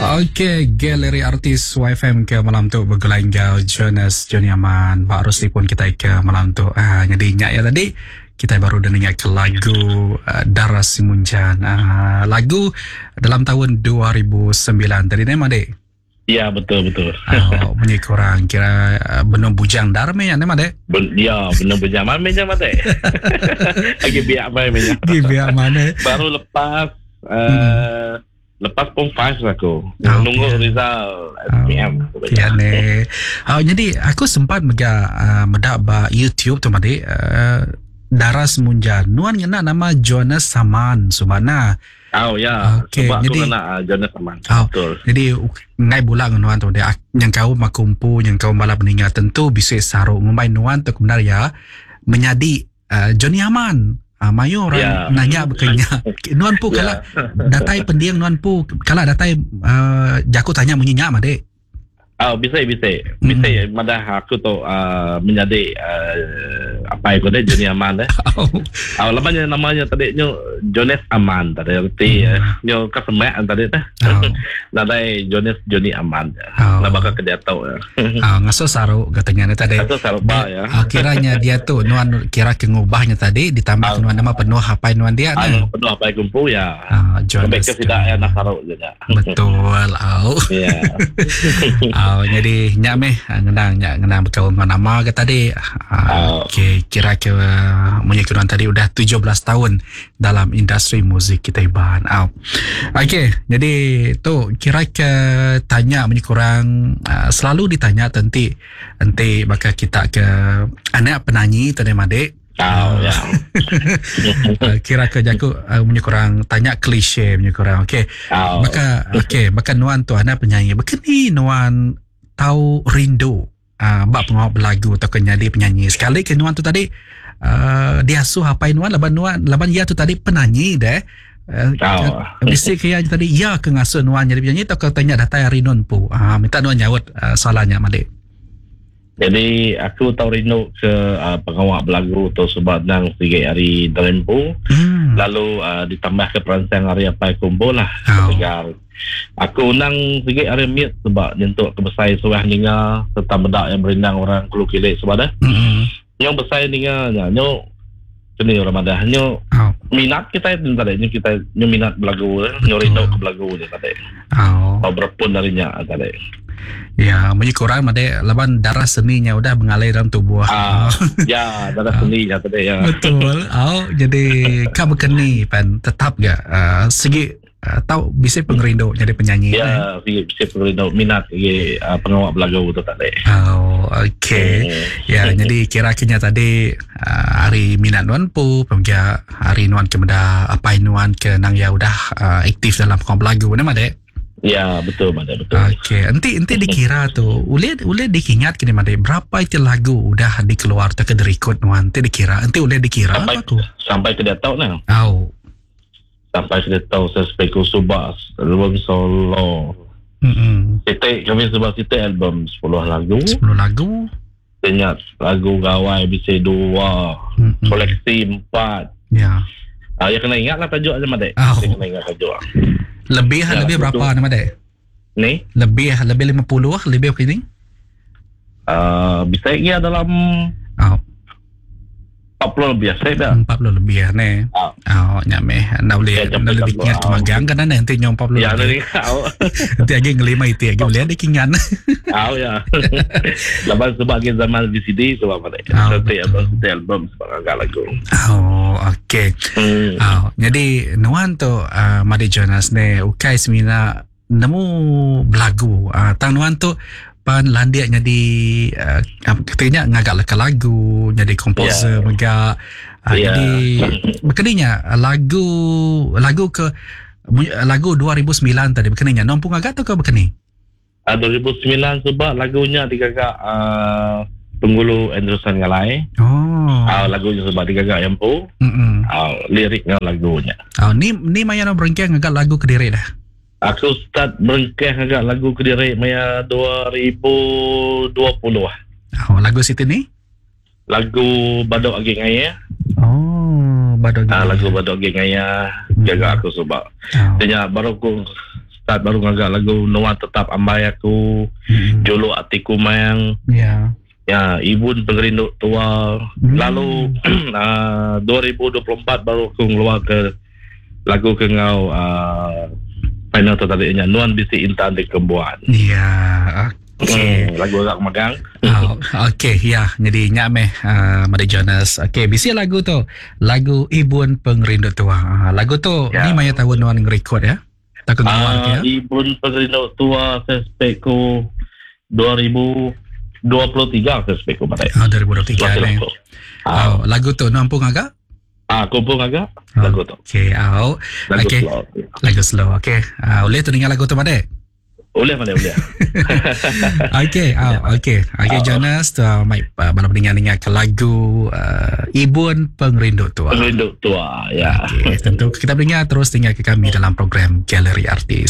Okey, galeri artis YFM ke malam tu begulai enggau Jonas Johnny Aman ba arus telefon kitai ke malam tu. Ah, jadi nya ya tadi kitai baru dah ninga ke lagu uh, Dara Simunjan. Ah, lagu dalam tahun 2009 tadi ne madik. Ya betul betul. Oh, munyi kurang kira uh, benung bujang dar meh ya ne madik. Ben, ya benung bujang mana meh madik. Lagi biak mai meh. Lagi biak mana. Baru lepas uh, hmm. lepas pom 5 aku. Oh, Nunggu okay. result SPM. Oh, ya ne. Oh, jadi aku sempat mega uh, meda ba YouTube tu madik uh, Dara Semunjan. Nuan ngena nama Jonas Saman subana. Oh ya, okay. sebab jadi, aku ngena uh, Jonas Aman. Oh, Betul. Jadi ngai bula dengan nuan tu dia yang kau aku empu yang kau malah meninggal tentu bisa saruk ngumbai nuan tu kebenar ya menyadi uh, Johnny Aman. Uh, mayu orang Ya. nanya berkenya. Nuan pu Ya. kala datai pendiang nuan pu kala datai uh, jaku tanya munyi nya madik. Oh, bisa bisa. Bisa mm. madah aku tu uh, menjadi uh, apa aku deh Johnny Aman deh. Oh. Oh, lamanya namanya tadi nyo Jonas Aman tadi erti mm. nyo kesemak tadi teh. Oh. Nadai Jonas Johnny Aman. Oh. Nah bakal ke dia tau ya. Oh, ngaso saru katanya ni tadi. Ngaso saru ba ya. Oh, kiranya dia tu nuan kira ke ngubahnya tadi ditambah oh. nuan nama penuh apa nuan dia ni. Ah, penuh apa kumpu ya. Ah, Jonas. Sampai ke tidak ya nak saru je. Betul. Oh. Ya. Oh, jadi nyak meh ngenang nyak ngenang berkaul dengan nama ke tadi. Oh. Okey, kira ke munyi kenuan tadi udah 17 tahun dalam industri muzik kita Iban. Oh. Okey, jadi tu kira ke tanya munyi kurang uh, selalu ditanya tenti enti bakal kita ke anak penyanyi tadi madik. Oh, ya. Uh, kira ke jaku uh, munyi kurang tanya klise munyi kurang. Okey. Oh. Maka okey, maka nuan tu anak penyanyi. Bekeni nuan tau rindu uh, bak pengawak belagu atau ke jadi penyanyi. Sekali ke nuan tu tadi uh, diasuh apai nuan laban nuan laban ia tu tadi penyanyi deh. Uh, Oh. Bisi ke ia tadi ia ke ngasuh nuan jadi penyanyi atau ke tanya datai hari nuan pu. Uh, minta nuan nyaut uh, soalannya malik. Jadi aku tahu rindu ke uh, pengawak belagu tu sebab nang sikit hari dalam pu. Lalu uh, ditambah ke peransang hari apa kumpul lah. Oh. Tegal. Aku nang sikit hari miet sebab nyentuk ke besai suah ninga serta bedak yang berindang orang kulu kilik sebab dah. Hmm. Yang besai ninga nya nyo seni orang madah nyo Oh. minat kita itu tadi nyo kita nyo minat belagu nyo rindu ke belagu ni tadi. Oh. Atau berpun darinya tadi. Ya, munyi kurang made laban darah seninya udah mengalir dalam tubuh. Ah, ya, darah seni ya tadi ya. Betul. Oh, jadi kau berkeni pan tetap gak uh, segi uh, tau bisa pengerindu jadi penyanyi. Eh? Ya, si si pengerindu minat ye uh, pengawak belagu tu tadi. Oh, okey. Ya, jadi kira-kiranya tadi uh, hari minat nuan pu, pemuja hari nuan ke meda apai nuan ke nang ya udah uh, aktif dalam pengawak belagu nama dek. Ya, betul Mak, betul. Okey, enti enti dikira tu, ulih ulih dikingat kini madek berapa itu lagu udah dikeluar atau ke direkod nuan, enti dikira, enti ulih dikira Sampai apa aku. sampai ke dia tahu nah. Oh. Sampai ke dia tahu saya speku subas album solo. Hmm. Sitik kami sebab sitik album 10 lagu. 10 lagu. Ingat lagu gawai bisa dua, Mm-mm. koleksi empat. Ya. Ah, ya kena ingat lah tajuk aja Mak, dek. Oh. Ya kena ingat tajuk. Lebih Ya, lebih betul. berapa nama dek? Ni, Lebih lebih 50 lebih begini? uh, bisa ya dalam Oh, 40 lebih saya dah. 40 lebih ya ne. Ah. Oh, nyame. Nak boleh Ya, nak boleh jam dikingat 40. kemagang kan nanti nyom 40 Ya, lebih. ni kau. Nanti lagi ngelima itu lagi boleh dikingat. Tahu ya. Lepas sebagai zaman VCD sebab apa dek. Ah, Setiap betul. album, setiap album sebab agak lagu. Oh, okey. Hmm. Oh, jadi nuan tu uh, Madi Jonas ne ukai semina nemu belagu. Uh, tang nuan tu pan landiak jadi uh, katanya ngagak leka lagu, jadi komposer Ya. mega. Uh, Ya. Jadi berkeninya lagu lagu ke lagu 2009 tadi berkeninya nompu ngagak tu ke berkeni? Ah, 2009 sebab lagunya digagak uh, Penggulu Anderson Ngalai. Oh. Ah, lagunya sebab digagak yang pu. Mm-mm. Ah, liriknya lagunya. Oh, ni ni maya nak berengkeh ngagak lagu kediri dah. Aku start berengkeh ngagak lagu kediri maya 2020 ah. Oh, lagu situ ni? Lagu Badok Agi Ngaya. Oh, Badok Ah, Agi. lagu Badok Agi Ngaya Hmm. gagak aku sebab. Oh. Dia baru aku start baru ngaga lagu Nuan Tetap Ambai Aku, Hmm. Juluk Ati Kumang. Ya. Ya, Ibun Pengerindu Tua. Lalu 2024 baru aku ngeluar ke lagu ke ngau final tu tadi nya Nuan Bisi Intan Di Kembuan. Ya, okey. Lagu agak magang. Oh, okey, ya. Jadi nya meh Madi Jonas. Okey, bisi lagu tu, lagu Ibun Pengerindu Tua. Lagu tu Ya. ni maya tahun nuan ngerekod ya. Tak ke ngeluar ke ya. Ibun Pengerindu Tua suspek ku 2023 suspek ku badai. Oh, 2023 Lagu ni. tu. Oh, lagu tu nuan pun agak? Aku pun agak lagu tu. Okey, oh. Lagu Okey. slow. Lagu slow. Okey. Boleh tu dengar lagu tu madek? Boleh, boleh, boleh. Okey, oh, okey. Okey, Jonas, tu mai malam dengar-dengar ke lagu Ibun Pengerindu Tua. Pengerindu Tua, ya. Okey, tentu kita dengar terus dengar ke kami dalam program Galeri Artis.